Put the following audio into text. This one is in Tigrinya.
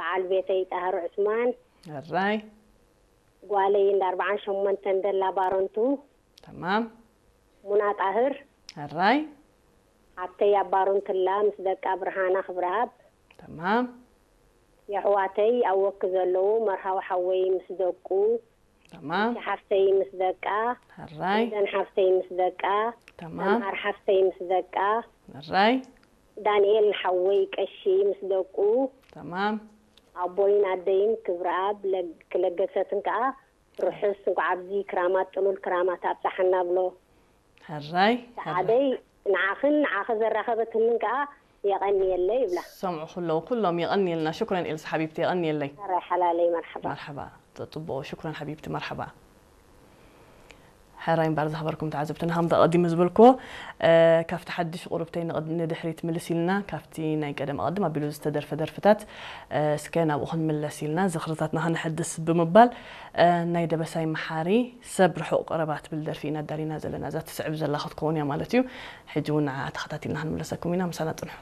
በዓል ቤተይ ጣህር ዑስማን፣ ሕራይ ጓለይ እንዳ ኣርባዓን ሸሞንተን ደላ ባረንቱ፣ ተማም ሙና ጣህር፣ ሕራይ ሓብተይ ኣብ ባረንቱላ ምስ ደቃ ብርሃና ክብረኣብ፣ ተማም የሕዋተይ ኣብ ወኪ ዘለዉ መርሃዊ ሓወይ ምስ ደቁ፣ ተማም ሓፍተይ ምስ ደቃ፣ ሕራይ ደን ሓፍተይ ምስ ደቃ፣ ተማም ሰምሃር ሓፍተይ ምስ ደቃ፣ ሕራይ ዳንኤል ሓወይ ቀሺ ምስ ደቁ፣ ተማም ኣቦይን ኣደይን ክብረኣብ ለግ- ክለገሰትን ከኣ ርሑስ እንኳዕ ኣብዚ ክራማት ጥሉል ክራማት ኣብፀሓና ብሎ። ሕራይ ሰዓደይ ንዓኽን ንዓኺ ዘራኸበትንን ከኣ የቐንየለይ ይብላ። ሰምዑ ኩለው ኩሎም የቐንየልና። ሽኩረን ኤልሳ ሓቢብቲ የቐንየለይ። ሕራይ ሓላለይ መርሓባ። መርሓባ ተጥቦ ሽኩረን ሓቢብቲ መርሓባ። ሕራይ እምበር ዝኸበርኩም ተዓዘብትና ከምቲ ኣቐዲሙ ዝበልክዎ ካብቲ ሓድሽ ቁሩብተይ ንድሕሪት ምልስ ኢልና ካብቲ ናይ ቀደም ኣቐድም ኣቢሉ ዝተደርፈ ደርፍታት እስከ ናብኡ ክንምለስ ኢልና ዝኽርታትና ከነሐድስ ብምባል ናይ ደበሳይ መሓሪ ሰብ ርሑቕ ቀረባ ትብል ደርፊ ኢና ኣዳሊና ዘለና። እዛ ትስዕብ ዘላ ክትከውን እያ ማለት እዩ። ሕጂ እውን ንዓ ተኸታቲልና ክንምለሰኩም ኢና። ምሳና ጽንሑ።